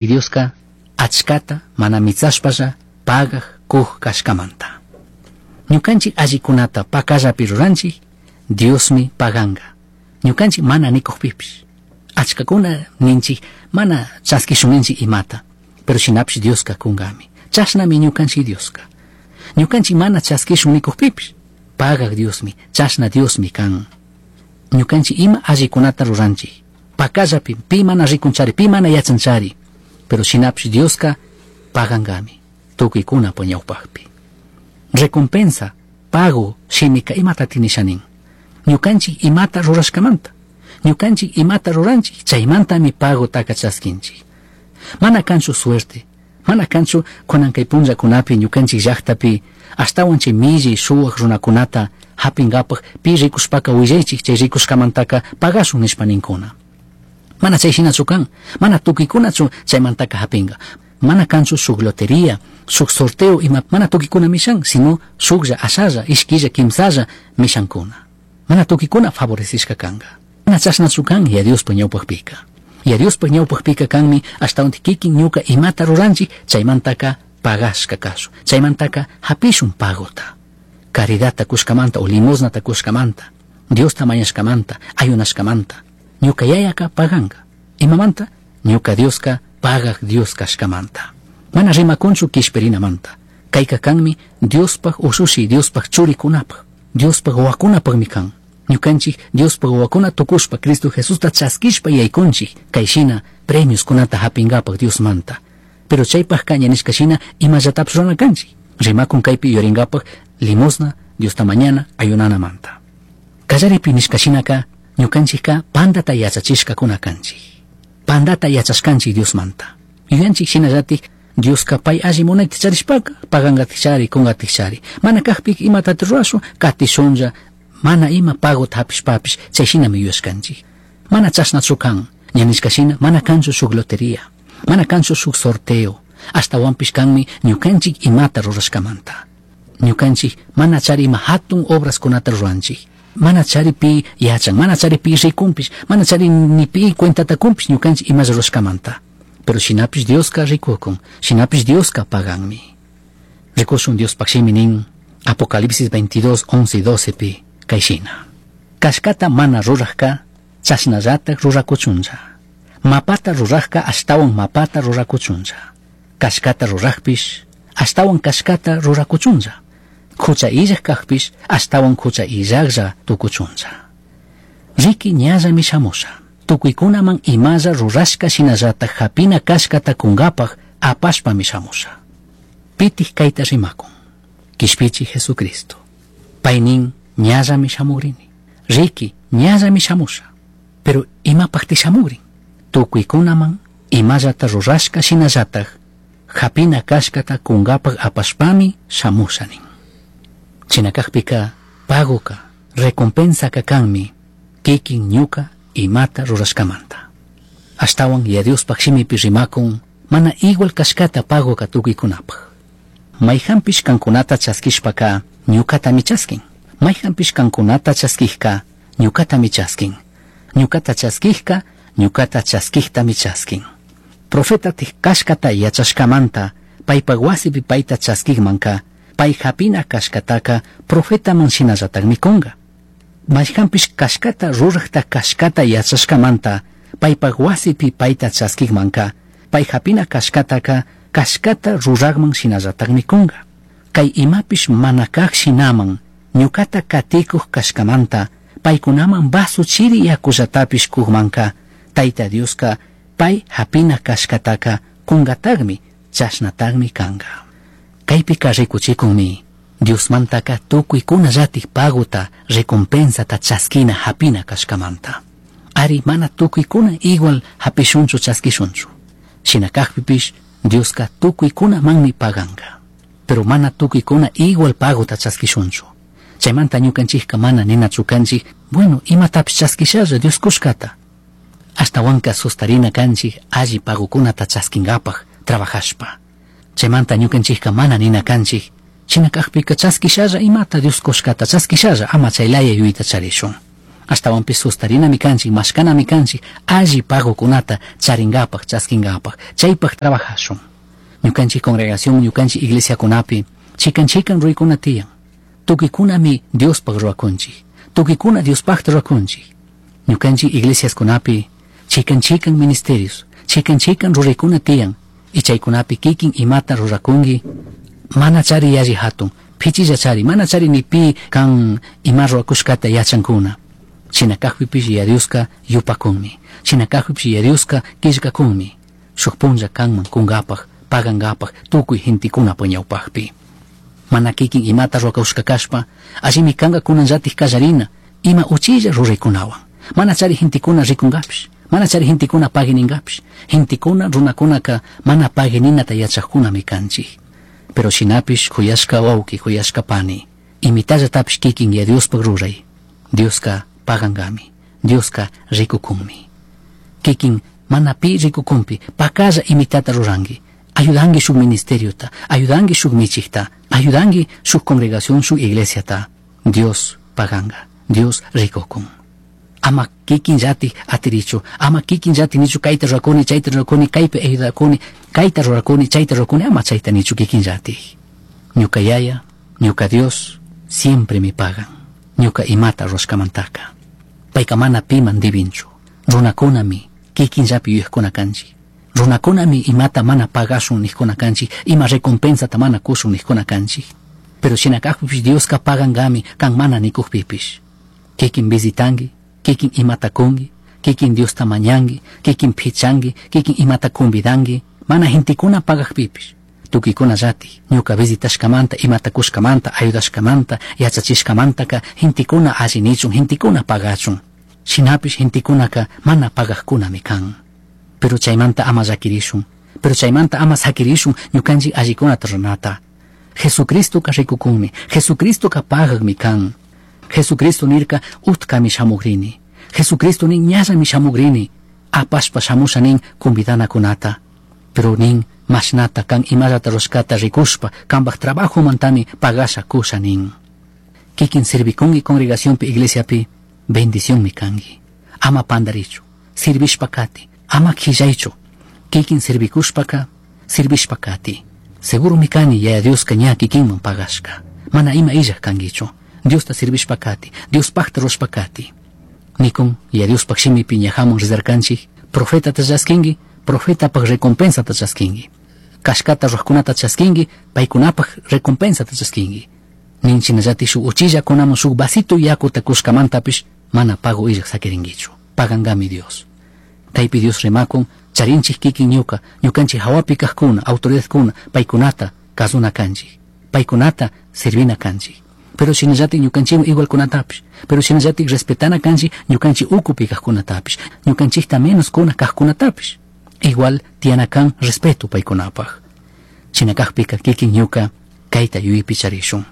Dioska achkata mana mitsashpalla pagaj kuj kashkamanta. Ñukanchik allikunata pakallapi ruranchik, Diosmi paganga. Ñukanchik mana nikujpipish. Achkakuna ninchik mana chaskishun ninchik imata, pero shinapish Dioska kungami. Chashnami ñukanchik Dioska. Ñukanchik mana chaskishun nikujpipish, pagaj Diosmi, chashna Diosmi kan. Ñukanchik ima allikunata ruranchik, pakallapi pi mana rikunchari, pi mana yachanchari, pero shinapish Dioska pagangami tukuykuna ñawpakpi. Recompensa, pago shimika imata nisha nin. Ñukanchik imata rurashkamanta. Ñukanchik imata ruranchik, chaymantami pagotaka chaskinchik. Mana kanchu suerte, mana kanchu kunan kay punllakunapi ñukanchik llaktapi ashtawan chay milli shuwak runakunata hapingapaj pi rikushpaka willaychik chay rikushkamantaka pagashun nishpa ninkuna. Mana chay shinachu kan, mana tukuykunachu chaymantaka hapinga. Mana kanchu shuk lotería, shuk sorteo ima mana tukuykuna mishan, sino shuklla, ashalla, ishkilla, kimsalla mishankuna. Mana tukuykuna favorecishka kanga. Mana chashnachu kan ya Diospa ñawpakpika. Ya Diospa ñawpakpika kanmi ashtawan kikin ñuka imata ruranchik chaymantaka pagashka kashun. Chaymantaka hapishun pagota. Caridadta kushkamanta o limosnata kushkamanta, Diosta mañashkamanta, ayunashkamanta. Ñuka yayaka paganga. Imamanta? Ñuka Dioska pagaj Dios kashkamanta. Mana rimakunchu kishpirinamanta. Kayka kanmi Diospaj ushushi, Diospaj churikunapaj, Diospaj wawakunapajmi kan. Ñukanchik Diospaj wawakuna tukushpa Cristo Jesusta chaskishpa yaykunchik kay shina premioskunata hapingapaj Diosmanta. Pero chaypajka ña nishka shina imallatapish rurana kanchik. Rimakun kaypi yuyaringapaj limosna, Diosta mañana, ayunanamanta. Kallaripi nishka shinaka ñukanchikka pandata yachachishkakuna kanchik. Pandata yachashkanchik Diosmanta. Yuyanchik shinallatik Dioska pay alli munayta charishpaka pagangatikchari, kungatikchari. Mana kajpika imatata rurashun, katishunlla, mana ima pagota hapishpapish chay shinami yuyashkanchik. Mana chashnachu kan, ña nishka shina mana kanchu shuk lotería, mana kanchu shuk sorteo, ashtawanpish kanmi ñukanchik imata rurashkamanta. Ñukanchik mana chari ima hatun obraskunata ruranchik. Mana chari pi yachan, mana chari pi rikunpish, mana chari ni pi cuentata kunpish ñukanchik imalla rurashkamanta. Pero shinapish Dioska rikukun, shinapish Dioska paganmi. Rikushun Diospaj shimi nin, Apocalipsis 22, 11 y 12 pi, kay shina. Kashkata mana rurajka, chashnallatak rurakuchunlla. Mapata rurajka ashtawan mapata rurakuchunlla. Kashkata rurajpish, ashtawan kashkata rurakuchunlla. Hucha illaj kajpish, ashtawan hucha illajlla tukuchunlla. Riki ñallami shamusha. Tukuykunaman imalla rurashka shinallatak hapina kashkata kungapaj apashpami shamusha. Pitij kayta rimakun. Kishpichi Jesucristo. Paynin ñallami shamugrini. Riki ñallami shamusha. Pero imapajti shamugrin. Tukuykunaman imallata rurashka shinallatak hapina kashkata kungapaj apashpami shamusha nin. Shina kajpika pagoka, recompensaka kanmi kikin ñuka imata rurashkamanta. Ashtawan ya Diospaj shimipi rimakun mana igual kashkata pagoka tukuykunapaj. Mayjanpish kankunata chaskishpaka ñukatami chaskin. Mayjanpish kankunata chaskijka ñukatami chaskin. Ñukata chaskijka ñukata chaskijtami chaskin. Profetatik kashkata yachashkamanta paypaj wasipi payta chaskijmanka pay hapina kashkataka profetaman shinallatakmi kunga. Mayjanpish kashkata rurajta kashkata yachashkamanta paypaj wasipi payta chaskijmanka pay hapina kashkataka kashkata rurajman shinallatakmi kunga. Kay imapish mana kaj shinaman ñukata katikuj kashkamanta paykunaman vaso chiri yakullatapish kujmanka Tayta Dioska pay hapina kashkataka kungatakmi chashnatakmi kanga. Kaypika rikuchikunmi Diosmantaka tukuykunallatik pagota recompensata chaskina hapina kashkamanta. Ari mana tukuykuna igual hapishunchu chaskishunchu. Shina kajpipish Dioska tukuykunamanmi paganga. Pero mana tukuykuna igual pagota chaskishunchu. Chaymanta ñukanchikka mana ninachu kanchik, bueno, imatapish chaskishalla Dios kushkata. Ashtawanka sustarina kanchik alli pagokunata chaskingapaj trabajashpa. Chaymanta ñukanchikka mana nina kanchik, shina kajpika chaskishalla imata Dios kushkata chaskishalla ama chaylaya yuyayta charishun. Ashtawanpish sustarinami kanchik, mashkanami kanchik, alli pagokunata charinkapak, chaskinkapak, chaypak trabajashun. Ñukanchik congregación, ñukanchik iglesiakunapi, chikan chikan ruraykuna tiyan. Tukuykunami Diospaq ruwakunchik, tukuykuna Diospaqta ruwakunchik. Ñukanchik iglesiaskunapi, chikan chikan ministerios, chikan chikan ruraykuna tiyan, y chaykunapi kikin imata rurakunki, mana chari yalli hatun, pichilla chari, mana chari ni pi kan ima ruwakushkata yachankuna. Shina kakpipish Yaya Dioska yupakunmi, shina kakpipish Yaya Dioska killkakunmi, shuk punlla kanman kunkapak, pagankapak, tukuy gentekunapa ñawpakpi. Mana kikin imata ruwakushka kashpa, allimi kanka kunanllatik kallarina, ima uchilla ruraykunawan. Mana chari gentekuna rikunkapish, mana chari gentekuna paguininkapish, gentekuna runakunaka mana paguininata yachakkunami kanchik. Pero shinapish kuyashka wawki, kuyashka pani, imitallatapish kikin Yaya Diospaq ruray, Dioska pagankami, Dioska rikukunmi. Kikin mana pi rikukunpi, pakalla imitata ruranki, ayudanki shuk ministeriota, ayudanki shuk michikta, ayudanki shuk congregación, shuk iglesiata, Dios paganka, Dios rikukun. Ama kikin llatik atirichu, ama kikin llatik nichu kayta rurakuni, chayta rurakuni, kaypi ayudakuni, kayta rurakuni, chayta rurakuni, ama chayta nichu kikin llatik. Ñuka yaya, ñuka Dios, siempre me pagan. Ñuka imata rushkamantaka. Payka mana piman dibinchu. Runakunami kikin llapi yuyajkuna kanchik. Runakunami imata mana pagashun nijkuna kanchik, ima recompensata mana kushun nijkuna kanchik. Pero shina kakpipish Dioska pagankami kan mana nikukpipish. Kikin visitanki, kikin imata kunki, kikin Diosta mañanki, kikin pichanki, kikin imata convidanki, mana gentekuna pagakpipish. Tukuykuna llatik, ñuka visitashkamanta, imata kushkamanta, ayudashkamanta, yachachishkamantaka, gentekuna alli nichun, gentekuna pagachun. Shinapish gentekunaka mana pagakkunami kan. Pero chaymanta ama llakirishun, pero chaymanta ama sakirishun ñukanchik allikunata ruranata. Jesucristoka rikukunmi, Jesucristoka pagakmi kan. Jesucristo nirka utkami shamugrini. Jesucristo nin ñallami shamugrini. Apashpa shamusha nin convidanakunata. Pero nin mashnata kan imallata rushkata rikushpa kanpak trabajo mantami pagasha kusha nin. Kikin servikunki congregacionpi iglesiapi bendicionmi kanki. Ama pandarichu, servishpa kati, ama khillaychu. Kikin servikushpaka, servishpa kati. Seguro mi kani Yaya Dioska ña kikinman pagashka. Mana ima illaj kankichu. Diosta servishpa kati, Diospakta rushpa kati. Nikun, Yaya Diospaq shimipi ñajamun rizarkanchik, profetata chaskinki, profetapaq recompensata chaskinki. Kashkata ruwaqkunata chaskinki, paykunapaq recompensata chaskinki. Nin shinallati shuk uchillakunaman shuk vasito yakuta kushkamantapish mana pago illaj sakirinkichu. Pagankami Dios. Kaypi Dios rimakun, charinchik kikin ñuka, ñukanchik hawapi kajkuna, autoridadkuna, paykunata kasuna kanchik, paykunata servina kanchik. Pero shinallatik ñukanchikwan igualkunatapish, pero shinallatik respetana kanchik ñukanchik ukupi kajkunatapish, ñukanchikta menos kuna kajkunatapish. Igual tiyana kan respeto paykunapaj. Shina kajpika kikin ñuka kayta yuyaypi charishun.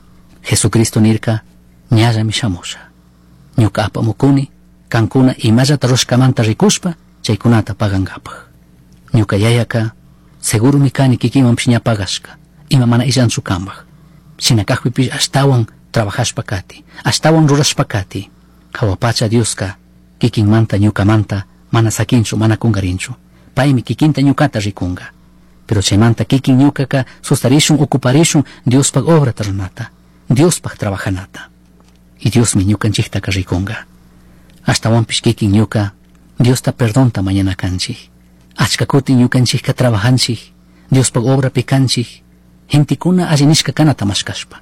Jesucristo nirka ñallami shamusha. Ñuka apamukuni kankuna imallata rushkamanta rikushpa chaykunata pagankapaj. Ñuka yayaka seguro mi kani kikinmanpish ña pagashka, ima mana illanchu kanpaj. Shina kajpipish ashtawan trabajashpa kati, ashtawan rurashpa kati. Jawa pacha Dioska kikinmanta ñukamanta mana sakinchu, mana kungarinchu. Paymi kikinta ñukata rikunga. Pero chaymanta kikin ñukaka sustarishun, ocuparishun Diospaj obrata ruranata, Diospaj trabajanata. Y Diosmi ñukanchiktaka rikunga. Ashtawanpish kikin ñuka Diosta perdonta mañana kanchik. Achka kutin ñukanchikka trabajanchik, Diospaj obrapi kanchik, gentekuna alli nishka kanata mashkashpa.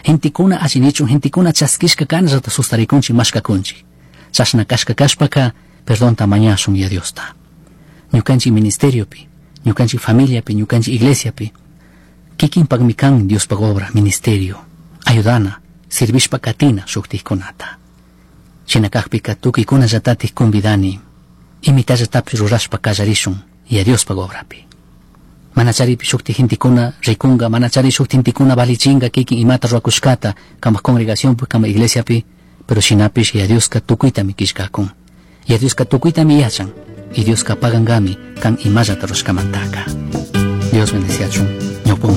Gentekuna alli nichun, gentekuna chaskishka kanallata sustarikunchik, mashkakunchik. Chashna kashka kashpaka perdonta mañashun ya Diosta. Ñukanchik ministeriopi, ñukanchik familiapi, ñukanchik iglesiapi, kikinpakmi kan Diospaj obra, ministerio, ayudana, servishpa katina shuktikkunata. Shina kajpika tukuykunallatatik convidani, imitallatapish rurashpa kallarishun ya Diospaj obrapi. Mana charipi shukti gentekuna rikunga, mana chari shukti gentekuna valichinga kikin imata ruwakushkata kanpak congregacionpi, kanpak iglesiapi, pero shinapish ya Dioska tukuytami killkakun. Ya Dioska tukuytami yachan, y Dioska pagankami kan imallata rushkamantaka. Dios bendeciachun, ñawpamun.